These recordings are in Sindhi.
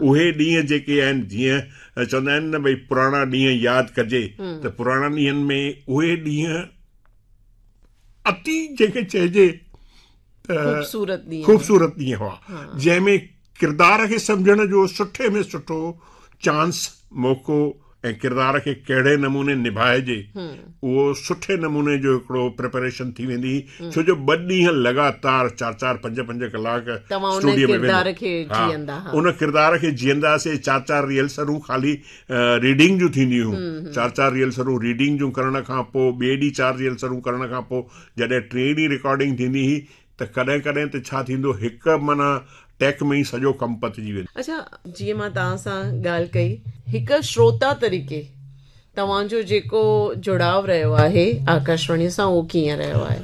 اهي ڏينهن جيڪي آهن جيئن چوندا آهن نه ڀئي پراڻا ڏينهن ياد ڪجي ته پراڻن ڏينهن ۾ اهي ڏينهن اتي جنهن کي چئجي ته خوبصورت ڏينهن خوبصورت ڏينهن هئا جنهن ۾ ڪردار کي سمجهڻ جو سٺي ۾ سٺو چانس موقعو ۽ ڪردار کي ڪهڙي نموني نڀائجي اهو سٺي نموني جو هڪڙو پريپريشن ٿي ويندي هئي ڇو جو ٻه ڏينهن لڳاتار چار چار پنج پنج ڪلاڪ اسٽوڊيو ۾ ويندو ان ڪردار کي جيئندا هئاسي چار چار ريهرسلون خالي ريڊنگ جون ٿينديون هيون چار چار ريهرسلون ريڊنگ جون ڪرڻ کان پوء ٻئي ڏينهن چار ريهرسلون ڪرڻ کان پوء جڏهن ٽئين ڏينهن رڪارڊنگ ٿيندي هئي ته ڪڏهن ڪڏهن ته ڇا ٿيندو هڪ معنيٰ ٽيڪ ۾ ئي سڄو ڪم پتجي ويندو. اڇا جيئن مان توهان سان ڳالهه ڪئي هڪ شروتا طريقي توهان جو جيڪو جڙاء رهيو آهي آڪاشواڻي سان اهو ڪيئن رهيو آهي؟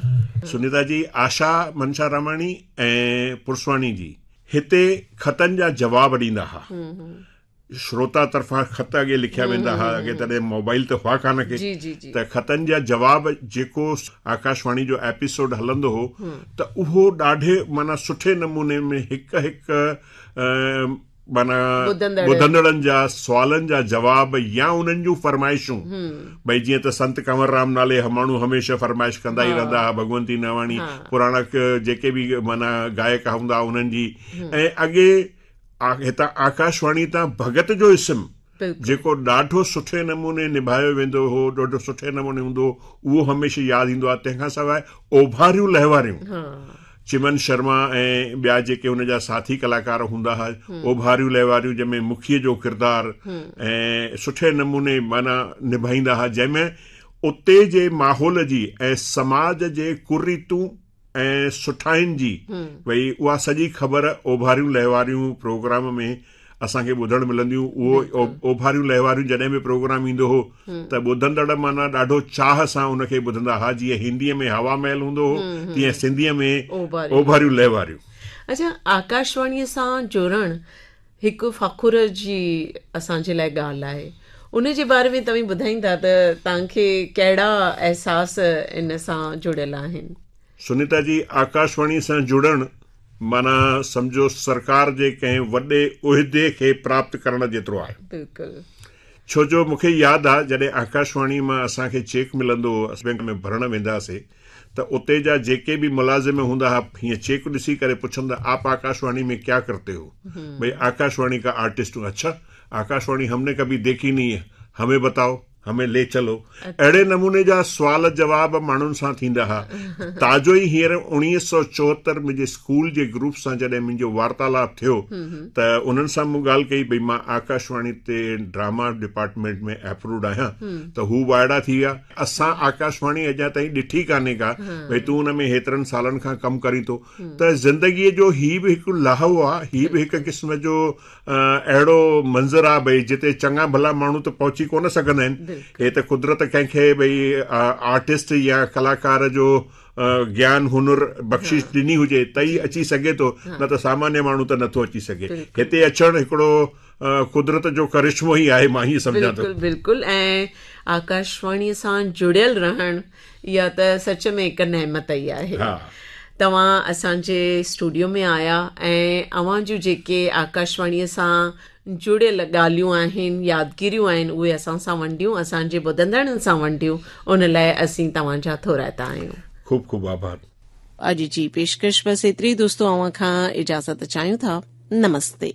سنيتا جي، آشا منشاراماڻي ۽ پرسواڻي جي هتي خطن جا جواب ڏيندا ها. شروتا طرفان خط اڳي لکيا ويندا ها اڳي تڏهن موبائل ته هئا ڪانه ڪي ته خطن جا جواب جيڪو آڪاشواڻي جو ايپيسوڊ هلندو هو ته اهو ڏاڍي معنيٰ سٺي نموني ۾ هڪ هڪ معنيٰ ٻڌندڙن جا سوالن جا جواب يا انهن جون فرمائشون ڀئي جيئن ته سنت ڪنور رام نالي ماڻهو هميشه فرمائش ڪندا ئي رهندا هئا ڀڳونتي ناواڻي پراڻا جيڪي به معنيٰ گائڪ هوندا انهن جي ۽ اڳي هتان آڪاشواڻي تان ڀڳت جو اسم جيڪو ڏاڍو سٺي نموني نڀايو ويندو هو ڏاڍو سٺي نموني هوندو هو اهو هميشه ياد ايندو آهي تنهن کان سواء اوڀاريون لهواريون چمن شرما ۽ ٻيا جيڪي هن جا ساٿي ڪلاڪار هوندا هئا اوڀاريون لهواريون جنهن ۾ مکيء جو ڪردار ۽ سٺي نموني معنيٰ نڀائيندا هئا جنهن ۾ اتي جي ماحول جي ۽ سماج جي ڪريتون ۽ سٺاين جي ڀئي اها سڄي خبر اوڀاريون لهواريون پروگرام ۾ اسان کي ٻڌڻ ملنديون اهو اوڀاريون لهواريون جڏهن به پروگرام ايندو هو ته ٻڌندڙ معنيٰ ڏاڍو چاهه سان ان کي ٻڌندا هئا جيئن هنديء ۾ هوا محل هوندو هو تيئن سنڌيء ۾ اوڀاريون لهواريون. اڇا آڪاشواڻيء سان جڙڻ هڪ فخر جي اسان جي لاء ڳالهه آهي ان جي باري ۾ توهين ٻڌائيندا ته توهان کي ڪهڙا احساس ان سان جڙيل آهن. سنيتا جي آڪاشواڻي سان جڙڻ معنيٰ سمجهو سرڪار جي ڪنهن وڏي عهدي کي پراپت ڪرڻ جيترو آهي. بلڪل. ڇو جو مون کي ياد آ جڏهن آڪاشواڻي مان اسان کي چيڪ ملندو هو اسين بئنڪ ۾ ڀرڻ ويندا هئاسي ته اتي جا جيڪي به ملازم هوندا ها هيئن چيڪ ڏسي ڪري پڇندا آپ آڪاشواڻي ۾ ڪيا ڪرتي هو ڀئي آڪاشواڻي ڪا آرٽسٽ هون اڇا آڪاشواڻي هم ني ڪڀي ديکي نهي هي همين بتائو همين لي چلو اهڙي نموني جا سوال جواب ماڻهن سان ٿيندا ها تازو ئي هينئر 1974 منهنجي اسڪول جي گروپ سان جڏهن منهنجو وارتالاپ ٿيو ته انهن سان مون ڳالهه ڪئي ڀئي مان آڪاشواڻي تي ڊراما ڊپارٽمينٽ ۾ اپرووڊ آهيان ته هو وائڙا ٿي ويا اسان آڪاشواڻي اڃا تائين ڏٺي ڪانهي ڪا ڀئي تون ان ۾ هيترن سالن کان ڪم ڪرين ٿو ته زندگيء جو هي به هڪ لاهو آ هي به هڪ قسم جو اهڙو منظر آ ڀئي جتي چڱا ڀلا ماڻهو ته پهچي ڪونه سگهندا آهن هي ته قدرت ڪنهن کي ڀئي آرٽسٽ يا ڪلاڪار جو گيان هنر بخشش ڏني هجي ته ئي اچي سگهي ٿو نه ته سامانيه ماڻهو ته نٿو اچي سگهي هتي اچڻ هڪڙو قدرت جو ڪرشمو ئي آهي مان ائين سمجهان ٿو. بلڪل بلڪل ۽ آڪاشواڻي سان جڙيل رهڻ اها ته سچ ۾ هڪ نعمت ئي آهي. توهان اسان جي اسٽوڊيو ۾ آيا ۽ اوهان جون جيڪي آڪاشواڻي سان جڙيل ڳالهيون آهن يادگيريون آهن اهي اسان سان ونڊيون اسان جي ٻڌندڙن سان ونڊيون ان لاء اسين توهان جا ٿورائتا آهيون. خوب خوب آڀار. اڄ جي پيشڪش بس ايتري دوستو اوهان کان اجازت چاهيون ٿا نمستي.